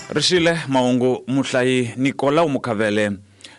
Rixile mahungu muhlayi Nicolau Mukhavele.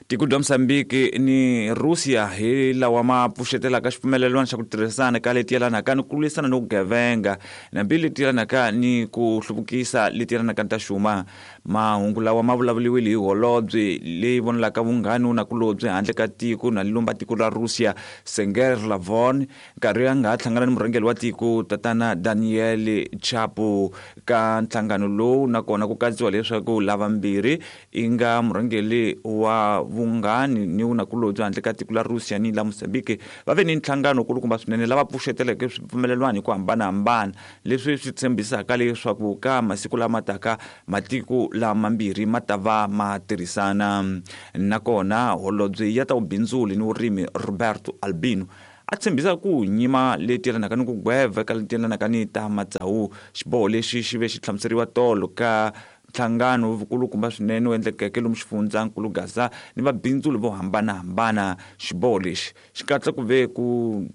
Tiko bya Mozambique ni Russia hi lawa ma pfuxetelaka xipfumelelwano xa ku tirhisana ka leti yelanaka ni ku lwisana ni vugevenga nambi leti yelanaka ni ku hluvukisa leti yelanaka ni ta xuma. Mahungu lawa ma vulavuriwile hi holobye leyi vonelaka vunghani nakulobye handle ka tiko na lumba tiko ra Russia Sergei Lavrov nkarhi a nga ha hlangana ni murhangeri wa tiko tatana Daniel Chapo ka nhlangano lowu nakona ku katsiwa leswaku lavambirhi i nga murhangeri wa vunghani ni vunakulobye handle ka tiko la Russia ni la Mozambique va ve ni nhlangano kulukumba swinene lava pfuxeteleke swipfumelelwano hi ku hambanahambana leswi swi tshembisaka leswaku ka masiku lama taka matiko lamambirhi ma ta va ma tirhisana. Nakona holobye ya ta vubindzuli ni vurimi Roberto Albino a tshembisa ku nyima leti yelanaka ni ku gweva eka leti yelanaka ni ta matsawu. Xiboho lexi xi ve xi hlamuseriwa tolo ka nhlangano vukulukumba swinene wu endlekeke lomu xifundzankulu Gaza ni vabindzuli vo hambanahambana. Xiboho lexi xi katsa ku ve ku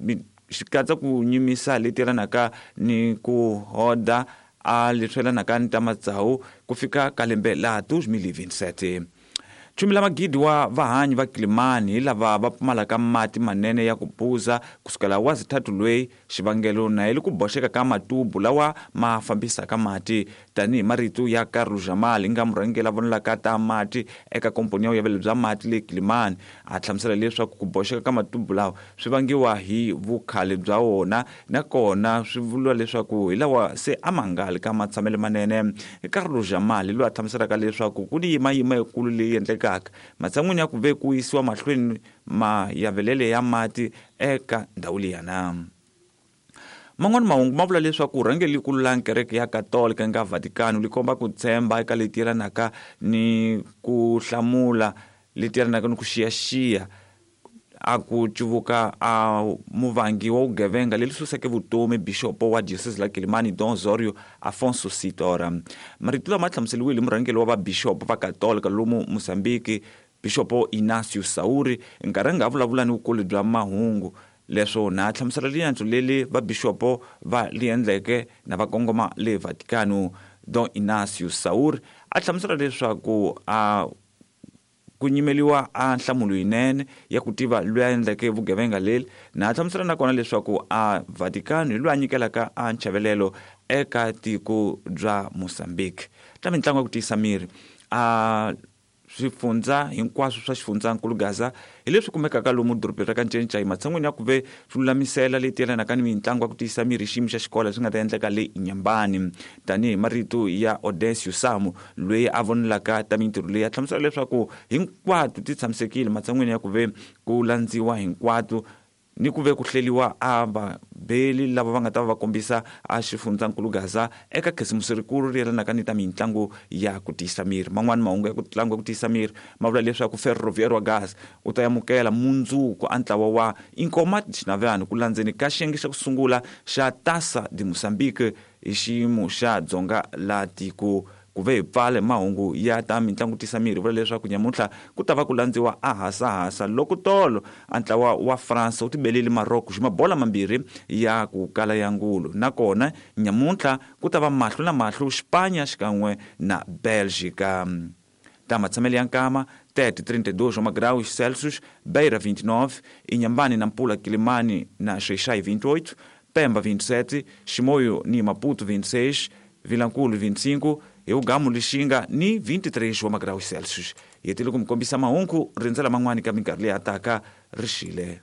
xi katsa ku nyimisa leti yelanaka ni ku hoda a leswi yelanaka ni ta matsawu ku fika ka lembe la 2027. Chumi la magidi wa vahanyi va Kilimani hi lava va pfumalaka mati manene ya ku phuza kusukela wa zithathu lweyi xivangelo na hi ku boxeka ka matubu lawa ma fambisaka mati tanihi marito ya Carlos Jamal nga murhangeri la vonelaka ta mati eka komponi ya vuyavelo bya mati le Kilimani a hlamusela leswaku ku boxeka ka matubu lawa swi vangiwa hi vukhale bya wona nakona swi vuriwa leswaku hi lawa se a ma nga li ka matshamelo manene. Carlos Jamal loyi a hlamuselaka leswaku ku ni yimayima yikulu leyi endlekaka matshan'wini ya ku ve ku yisiwa mahlweni mayavelele ya mati eka ndhawu liyana. Man'wana mahungu ma vula leswaku rhangeri likulu la kereke ya Katolika nga Vatican li komba ku tshemba eka leti yelanaka ni ku hlamula leti yelanaka ni ku xiyaxiya a ku cuvuka a muvangi wa vugevenga leri suseke vutomi bixopo wa diocese la Kilimani Don Zorio Afonso Sitora. Marito lama hlamuseriwile hi murhangeri wa vabixopo va Katolika lomu Mozambique Bixopo Inácio Sauri nkarhi a nga vulavula ni vukulu bya mahungu leswo na hlamusela riendzo leri vabixopo va li endleke na va kongoma le Vatikano. Don Inácio Sauri a hlamusela leswaku a ku nyimeliwa a nhlamulo yinene ya ku tiva loyi a endleke vugevenga leri na hlamusela nakona leswaku a Vatikano hi loyi a nyikelaka a nchavelelo eka tiko bya Mozambique. Ta mitlangu ya ku tiyisa miri a swifundza hinkwaswo swa xifundzankulu Gaza hi leswi kumekaka lomu dorobeni ra ka Ncencai matshan'wini ya ku ve swi lulamisela leti yelanaka ni mitlangu ya ku tiyisa miri hi xiyimo xa xikolo leswi nga ta endleka le Inyambani tanihi marito ya Odesio Samu loyi a vonelaka ta mintirho leyi a hlamusela leswaku hinkwato ti tshamisekile matshan'wini ya ku ve ku landziwa hinkwato ni ku ve ku hleliwa a vabeli lava va nga ta va va kombisa a xifundzankulu Gaza eka khisimusi rikulu ri yelanaka ni ta mitlangu ya ku tiyisa miri. Man'wani mahungu ya ku tlangu ya ku tiyisa miri ma vula leswaku Ferroviário wa Gaza u ta amukela mundzuku a ntlawa wa Inkomat Xinavyani ku landzeni ka xiyenge xa ku sungula xa Taça de Moçambique hi xiyimo xa dzonga la tiko. Ku ve hi pfale mahungu ya ta mitlangu tisa miri vula leswaku nyamuntlha ku ta va ku landziwa a hasahasa loko tolo a ntlawa wa France wu tibelile Morocco xi mabola mambirhi ya ku kala ya ngulu nakona nyamuntlha ku ta va mahlo na mahlo Xipanya xikan'we na Belgica. Ta matshamelo ya nkama 30 32 wa magraus Celsius, Beira 29, Inhambane Nampula Quilimane na Xai-Xai 28, Pemba 27, Chimoio ni Maputo 26, Vilankulu 25, Eugamu Lixinga ni 23 wa magraus Celsius. Hi hetile ku mi kombisa mahungu rindzela man'wani ka minkarhi leyi hataka rixile.